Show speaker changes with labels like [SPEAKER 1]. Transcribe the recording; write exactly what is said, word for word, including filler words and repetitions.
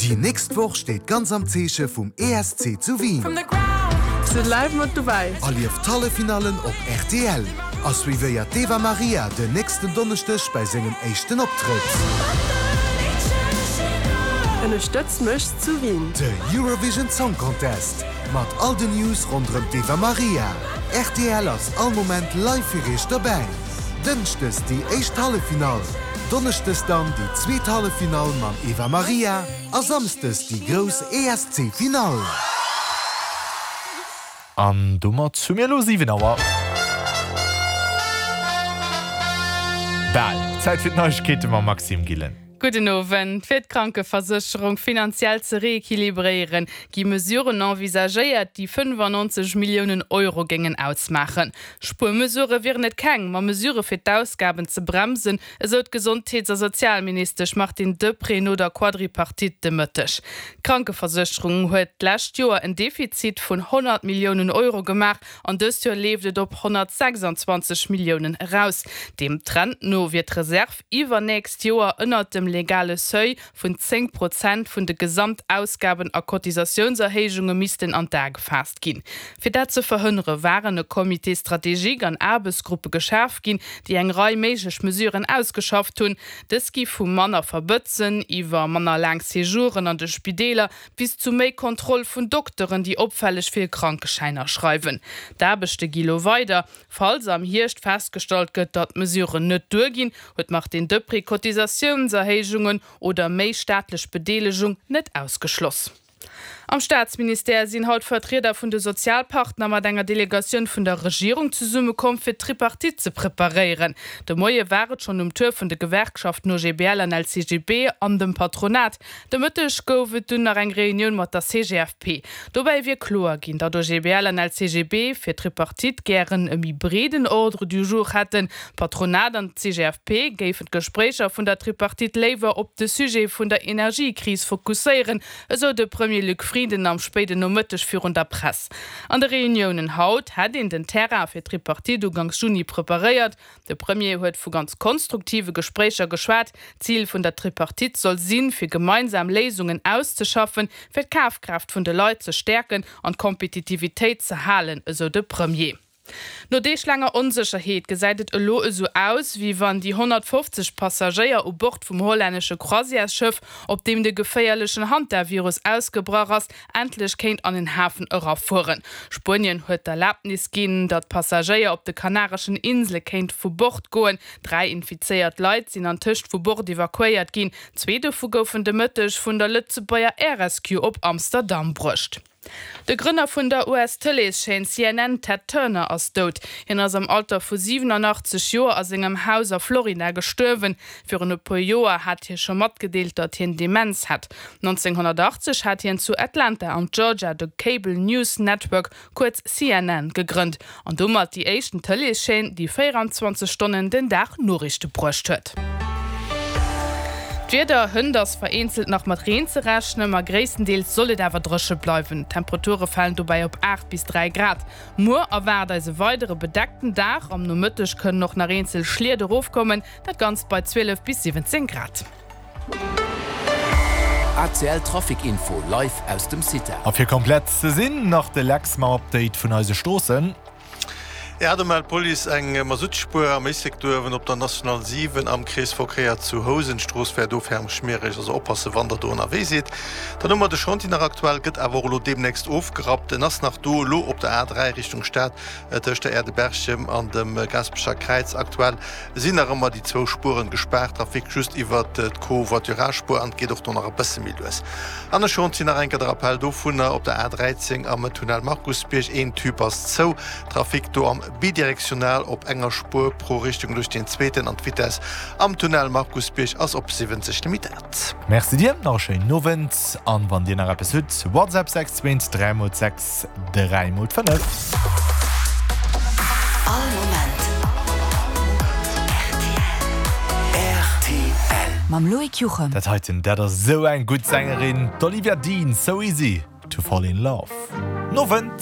[SPEAKER 1] Déi nächst Woch steet ganz am Zeeche vum E S C zu Wien.
[SPEAKER 2] Sidd live mat dobäi.
[SPEAKER 1] Erlieft d'Halleffinallen op R T L a suivéiert d'Eva Maria den nächsten Donneschdeg bei sengem éischten Optrëtt.
[SPEAKER 2] Ënnerstëtz mech zu Wien.
[SPEAKER 1] De Eurovision Song Contest mat all den News ronderëm d'Eva Maria. R T L ass all Moment live fir iech dobäi. Dënschdes déi éischt Halleffinall, Donneschdes dann déi zweet Halleffinall mam Eva Maria a Samschdes déi grouss E S C-Finall.
[SPEAKER 3] An domat hu mir elo siwen Auer. Bal Zäit fir d'Neiegkeete mam Maxime Gillen.
[SPEAKER 4] Gudden Owend. Fir d'Krankeversécherung finanziell ze reequilibréieren, gi Mesuren envisagéiert, déi fënnefannonzeg Milliounen Euro géingen ausmaachen. Spuermesurë wieren et keng, ma Mesurë fir d'Ausgaben ze bremsen, esou d'Gesondheets- a Sozialministesch Martine Deprez no der Quadripartite de Mëtteg. D'Krankeversécherung huet d'lescht Joer en Defizit vun honnert Milliounen Euro gemaach an dëst Joer leeft et op honnertsechsanzwanzeg Milliounen eraus. Dem Trend no wier d'Reserv iwwernächst Joer ënnert dem legale Seuil vun zéng Prozent vun de Gesamtausgaben a Cotisatiounserhéijunge missten an d'A gefaasst ginn. Fir dat ze verhënnere waren e Comité stratégique an Aarbechtsgruppe geschaf ginn, déi eng Rei méiglech Mesuren ausgeschafft hunn. Dës gi vu manner Verbëtzen iwwer manner laang Séjouren an de Spideeler bis zu méi Kontroll vun Dokteren, déi opfälleg vill Krankeschäiner schreiwen. D'Aarbechte gi lo weider. Falls am Hierscht festgestallt gëtt, datt d'Mesuren net duerginn, huet d'Martine Deprez Cotisatiounserhéijungen oder méi staatlech Bedeelegung net ausgeschloss. Am Staatsministère sinn haut Vertrieder vun de Sozialpartner mat enger Delegatioun vun der Regierung zesummekomm fir d'Tripartite ze preparéieren. De Moie war et schonn um Tour vun de Gewerkschaften O G B L an L C G B an dem Patronat. De Mëtteg gouf et dunn nach eng Reunioun mat der C G F P. Dobäi wier kloer ginn, datt O G B L an L C G B fir d'Tripartite gären e méi breeden Ordre du jour hätten. Patronat an C G F P géifen d'Gespréicher vun der Tripartite léiwer op de Sujet vun der Energiekris fokusséieren, esou de Premier Luc Frieden am spéiden Nomëtteg virun der Press. An de Reuniounen haut hätt een den Terrain fir d'Tripartite uganks Juni preparéiert. De Premier huet vu ganz konstruktive Gespréicher geschwat. Zil vun der Tripartite soll sinn, fir gemeinsam Léisungen auszeschaffen, fir d'Kafkraaft vun de Leit ze stäerken an d'Kompetitivitéit ze halen, esou de Premier. No deeglaanger Onsécherheet gesäit et elo esou aus, wéi wann déi honnertfofzeg Passagéier u Bord vum hollännesche Croisièresschëff, op deem de geféierlechen Hantavirus ausgebrach ass, endlech kéint an en Hafen erafueren. Spuenien huet d'Erlabnis ginn, datt Passagéier op de Kanareschen Insele kéinte vu Bord goen. Dräi infizéiert Leit sinn antëscht vu Bord evakuéiert ginn. Zwee dovu goufen de Mëtteg vun der Lëtzebuerger Air Rescue op Amsterdam bruecht. De Grënner vun der U S-Tëleeschaîne C N N, Ted Turner, ass dout. Hien ass am Alter vu siwenanachtzeg Joer a sengem Haus a Florida gestuerwen. Virun e puer Joer hat hie scho matgedeelt, datt hien Demenz hätt. nonzénghonnertachtzeg hat hien zu Atlanta an Georgia de Cable News Network, kuerz C N N, gegrënnt an domat déi éischten Tëleeschaîne, déi véieranzwanzeg Stonnen den Dag Noriichte bruecht huet. D'Wieder: Hënt ass vereenzelt nach mat Reen ze rechnen, ma gréisstendeels soll et awer dréche bleiwen. D'Temperature falen dobäi op aacht bis dräi Grad. Muer erwaart eis e weidere bedeckten Dag, am Nomëtteg kënnen och nach eenzel Schliet erofkommen, dat Ganzt bei zwielef bis siwwenzéng Grad.
[SPEAKER 5] A C L Trafic Info live aus dem CITA.
[SPEAKER 3] A fir komplett ze sinn, nach de Lex mam Update vun eise Stroossen.
[SPEAKER 6] Ja, do mellt d'Police eng Masuttspuer am Éislek op der National siwen am Kreesverkéier zu Housen. D'Strooss wär do ferm schmiereg, also oppasse wann der do ënnerwee sidd. Dann hu mer de Chantier nach aktuell, gëtt awer och elo deemnächst ofgerappt. En ass nach do elo op der A dräi Richtung Stad tëscht der Aire de Berchem an dem Gaasperecher Kräiz. Aktuell sinn nach ëmmer déi zwou Spueren gespaart, Trafic just iwwer d'Covoiturage-Spuer an et geet och do nach e bësse méi lues. An e Chantier nach eng Kéier de Rappel dovunner op der A dräizéng am Tunnel Markusbierg, een Tube ass zou, Trafic do am bidirektional op enger Spuer pro Richtung duerch den zweeten an d'Vitess am Tunnel Markusbierg ass op siwwenzeg limitéiert.
[SPEAKER 3] Merci dir, nach e schéinen Owend an wann dir nach eppes hutt, WhatsApp sechs zwee dräi mol sechs dräi mol fënnef.
[SPEAKER 7] All Moment R T L. R T L. Mam Loïc Juchem.
[SPEAKER 3] Dat heiten, dat ass sou eng gutt Sängerin, d'Olivia Dean, So Easy to Fall in Love. Nowend!